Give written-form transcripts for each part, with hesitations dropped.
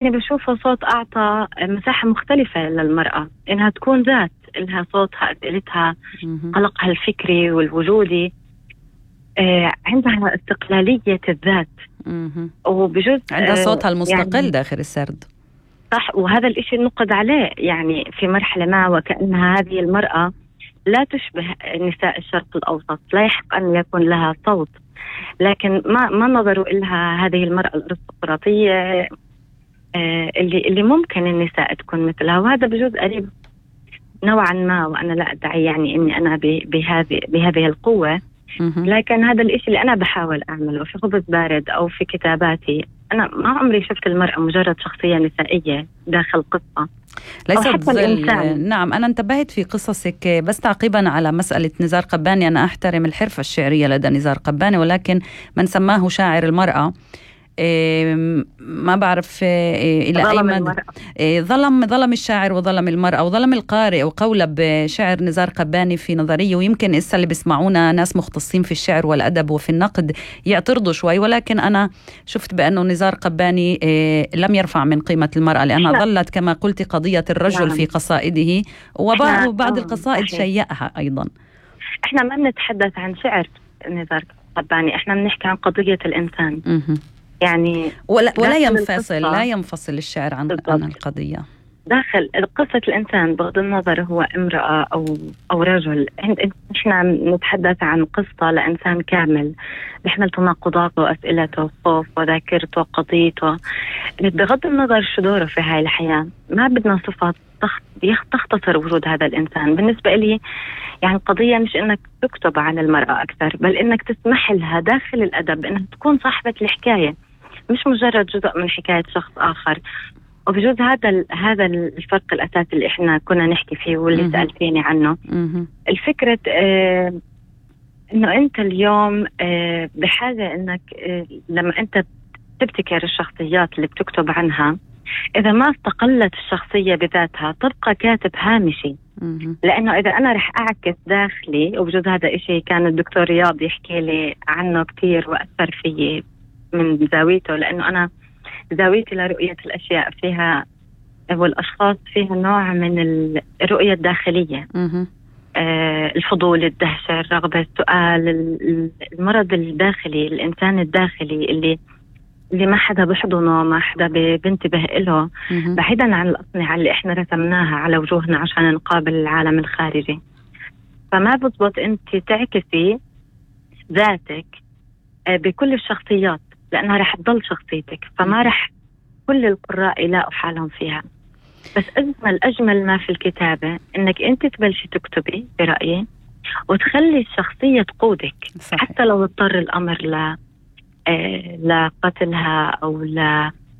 يعني بشوفه صوت أعطى مساحة مختلفة للمرأة إنها تكون ذات، إلها صوتها، أسئلتها، قلقها الفكري والوجودي، عندها استقلالية الذات، وبجوز عندها صوتها المستقل يعني داخل السرد. صح، وهذا الإشي نقد عليه يعني في مرحلة ما، وكأنها هذه المرأة لا تشبه نساء الشرق الأوسط، لا يحق أن يكون لها صوت، لكن ما نظروا إلها هذه المرأة الأرستقراطية اللي ممكن النساء تكون مثلها. وهذا بجوز قريب نوعا ما، وأنا لا أدعي يعني إني أنا بهذه القوة، لكن هذا الإشي اللي أنا بحاول أعمله في خبز بارد أو في كتاباتي. أنا ما عمري شفت المرأة مجرد شخصية نسائية داخل قصة، ليست ظل. نعم، أنا انتبهت في قصصك، بس تعقيبا على مسألة نزار قباني، أنا أحترم الحرفة الشعرية لدى نزار قباني، ولكن من سماه شاعر المرأة ما بعرف إلى أي مدى ظلم الشاعر وظلم المرأة وظلم القارئ. وقولب شعر نزار قباني في نظرية، ويمكن إسا اللي بيسمعونا ناس مختصين في الشعر والأدب وفي النقد يعترضوا شوي، ولكن أنا شفت بأنه نزار قباني لم يرفع من قيمة المرأة، لأنها ظلت كما قلت قضية الرجل في قصائده، وبعض القصائد شيئها أيضا. إحنا ما بنتحدث عن شعر نزار قباني، إحنا بنحكي عن قضية الإنسان. يعني لا ينفصل الشعر عن القضية. داخل قصة الإنسان بغض النظر هو امرأة أو رجل، إحنا نتحدث عن قصة لإنسان كامل بيحمل تناقضاته وأسئلته، خوف وذاكرته وقضيته، بغض النظر شو دوره في هاي الحياة. ما بدنا صفات تختصر وجود هذا الإنسان. بالنسبة لي يعني القضية مش إنك تكتب عن المرأة أكثر، بل إنك تسمح لها داخل الأدب إنها تكون صاحبة الحكاية، مش مجرد جزء من حكاية شخص آخر. وبجوز هذا الفرق الأساسي اللي إحنا كنا نحكي فيه واللي سألتيني عنه. الفكرة إنه أنت اليوم بحاجة إنك لما أنت تبتكر الشخصيات اللي بتكتب عنها، إذا ما استقلت الشخصية بذاتها تبقى كاتب هامشي. لأنه إذا أنا رح أعكس داخلي، وبجوز هذا إشي كان الدكتور رياض يحكي لي عنه كتير وأثر فيي من زاويته، لأنه أنا زاويتي لرؤية الأشياء فيها والأشخاص فيها نوع من الرؤية الداخلية، الفضول، الدهشة، الرغبة، السؤال، المرض الداخلي، الإنسان الداخلي اللي ما حدا بحضنه، ما حدا بينتبه له، بعيدا عن الأصنعة اللي إحنا رسمناها على وجوهنا عشان نقابل العالم الخارجي. فما بضبط أنت تعكسي ذاتك بكل الشخصيات، لأنها رح تضل شخصيتك، فما رح كل القراء يلاقوا حالهم فيها. بس أجمل ما في الكتابة إنك أنت تبلشي تكتبي برأيي وتخلي الشخصية تقودك. صحيح. حتى لو اضطر الأمر لقتلها أو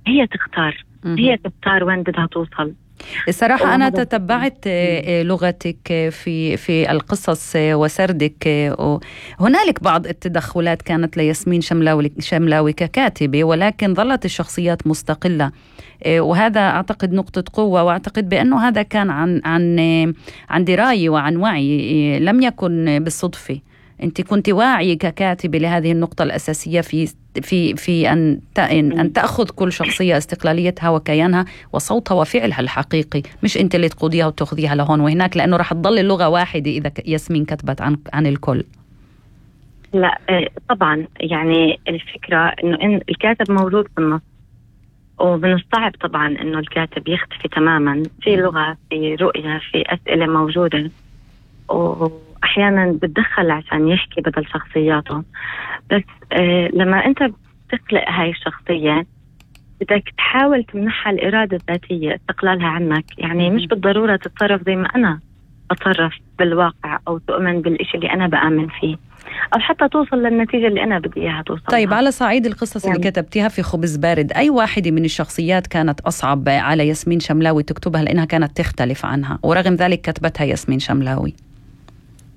هي تختار، هي تختار وين بدها توصل. الصراحة أنا تتبعت لغتك في القصص وسردك، هنالك بعض التدخلات كانت لياسمين شملاوي ككاتبة، ولكن ظلت الشخصيات مستقلة، وهذا أعتقد نقطة قوة، وأعتقد بأنه هذا كان عن دراية وعن وعي، لم يكن بالصدفة. أنت كنت واعية ككاتبة لهذه النقطة الأساسية في أن تأخذ كل شخصية استقلاليتها وكيانها وصوتها وفعلها الحقيقي، مش أنت اللي تقوديها وتأخذيها لهون وهناك، لأنه رح تضل اللغة واحدة إذا ياسمين كتبت عن الكل. لا طبعا، يعني الفكرة إنه الكاتب موجود في النص، ومن الصعب طبعا إنه الكاتب يختفي تماما. في لغة، في رؤية، في أسئلة موجودة، وأحيانا بتدخل عشان يحكي بدل شخصياته. بس لما أنت بتخلق هاي الشخصية بدك تحاول تمنحها الإرادة الذاتية، استقلالها عنك. يعني مش بالضرورة تتصرف زي ما أنا أتصرف بالواقع، أو تؤمن بالإشي اللي أنا بآمن فيه، أو حتى توصل للنتيجة اللي أنا بدي إياها توصل. طيب، على صعيد القصص يعني اللي كتبتيها في خبز بارد، أي واحدة من الشخصيات كانت أصعب على ياسمين شملاوي تكتبها لأنها كانت تختلف عنها، ورغم ذلك كتبتها ياسمين شملاوي؟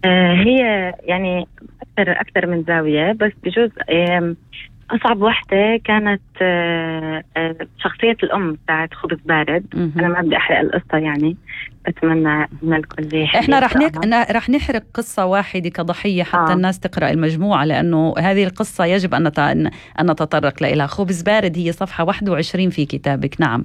هي يعني أكثر من زاوية، بس بجوز أصعب وحدة كانت شخصية الأم بتاعت خبز بارد. أنا ما بدي أحرق القصة يعني، بتمنى إن الكل يحكي. إحنا رح نحرق قصة واحدة كضحية حتى الناس تقرأ المجموعة، لأنه هذه القصة يجب أن نتطرق لها. خبز بارد هي صفحة 21 في كتابك. نعم.